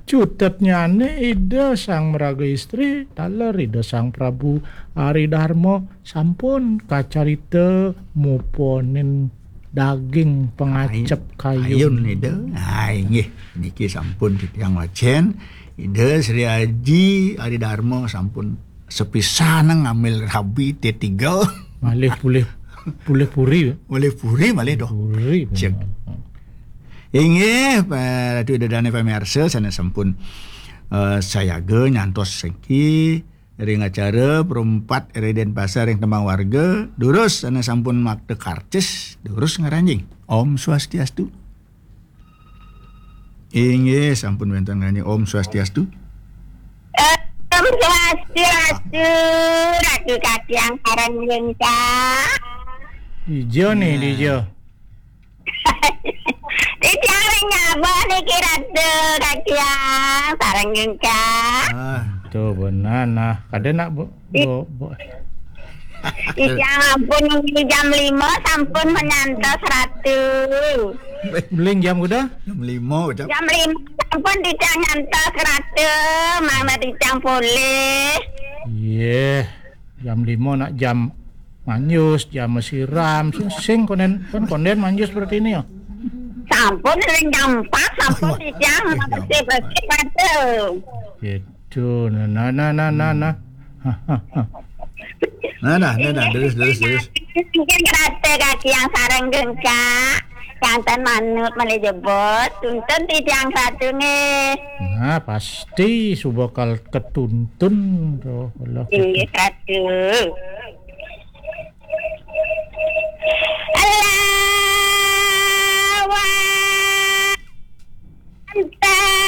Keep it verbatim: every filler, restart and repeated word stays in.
Cutetnyane Ida Sang Maraga Istri, taler Ida Sang Prabu Ari Darma sampun kacarita muponin daging pangacep kayun. Kayun, Ida. Ah, inggih. Niki sampun titiang wacen. Ida Sri Aji Ari Darma sampun sepisan ngambil rabi T tiga. Malih pulih, pulih puri, ya? Malih puri, malih doh. Puri. Cek. Inggih, Pak Ratu Ida Dane pamirsa, sanes sampun, eh, sayaga nyantos sengki ring acara Perumpat ring Denpasar ring Tembang Warga, durus sanes sampun makta karcis, durus ngranjing. Om Swastiastu. Inggih, sampun wenten ngranjing. Om Swastiastu. Om Swastiastu, Ratu Katiang sareng Lengkah. Dija nih, nah. Dija. Titiang ring Nyabah niki Ratu Katiang sareng Lengkah. Ah. Tuh, benar, nah. Kada nak, Bu? Bo, bo. Titiang ampun, jam lima sampun menyantos Ratu. Uling jam kuda? Jam lima, jam. Jam lima sampun titiang nyantos Ratu, mangda titiang polih. Iya, jam lima nak jam manjus, jam masiram, sing, sing konden, kan konden manjus seperti ini ya. Sampun ring jam empat sampun titiang bersih-bersih Ratu. Gitu. Tuh, nah, nah, nah, nah, nah, nah. Nah, nah, nah, nah, terus, terus, terus. Mungkin kerata kaki yang sarang gengkak, jantan manut malih jebot, tuntun titiang Ratu nggih. Nah, pasti suba kal ketuntun tuh, Allah. Inggih, Ratu. Allah wantah.